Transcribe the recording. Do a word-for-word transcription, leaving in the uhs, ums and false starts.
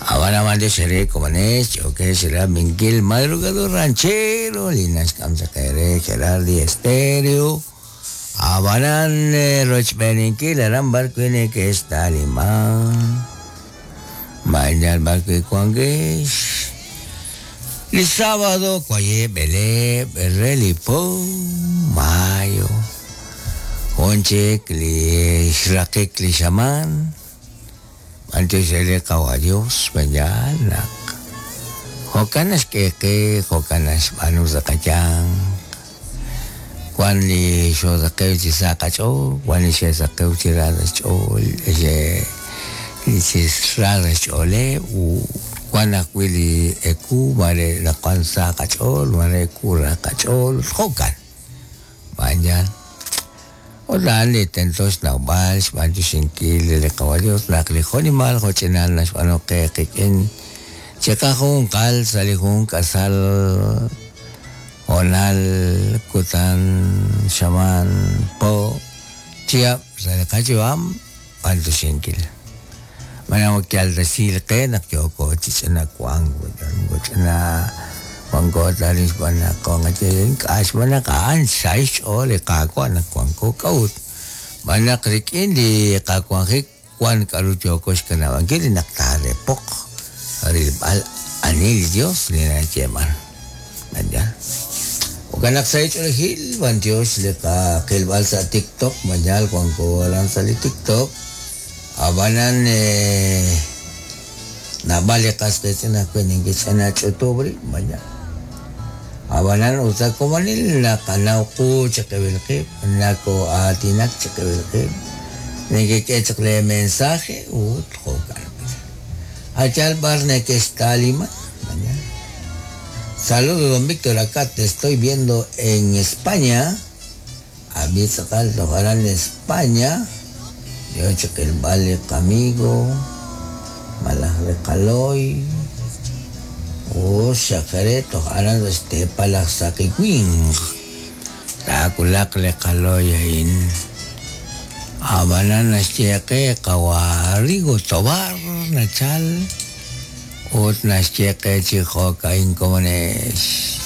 Habana mande sere komanes, choque será Miguel Madrugador Ranchero, Linas Kamsakere, Gerardi Estéreo. Abanan Rochbeninkil, Aran Barquine que está Limán. Mañana Barque Cuangues. El sábado, Cuaye, Belé, Relipo, Mayo. Conche, Cli, Cli, Antes ele kawa Dios, mañana. Jokanas keke, jokanas anu zakachang. Juan li xo zakeu chi sakacho, Juan li xe zakeu chi radas chol, xe li chi radas chole, u Juan akwili eku, mare la Juan sakachol, mare kura kachol, jokan. Mañana. Hola, li tentos nawbal, xb'anchu xinkil li qawa Dios, naq li jonimal jochinal naxb'anu qe qik'in chiqa jun qal sa li jun k'asal honal kutan xaman po chihab' sa li qachiwam b'anchu xinkil. Manamo kyal decir qe naq yoko chich'ina kuan ch'ina wanko talis bana ko nga chen k'ax bana k'an xaix o li qakwa na wanko k'aut bana krikin li qakwanjik wan k'aru yoko xkanabankil naq tarepoq rilb'al anil Dios li nayeman mañana Okanak sa ich'olejil wan Dios li qaqilb'al sa TikTok mañal wanko alan sa li TikTok abanan eh, nabali qasqitz'ina kweninkich'ana ch'utubri mañana Abanan usa komanil na kanauku chiqibilqib nako atinak chiqibilqib nikik'e le mensaje ut jokan Achal barne que está Lima mañana. Saludos don Víctor, acá te estoy viendo en España. A mí sacal tocarán en España. Yo chiquil vale amigo malaj caloy. O xakare tocarán este palaj sakikwin. Takulak le caloy in. Abanan naxcheqe qawarigo tobar nachal. Ut naxcheqe chijoka incomones.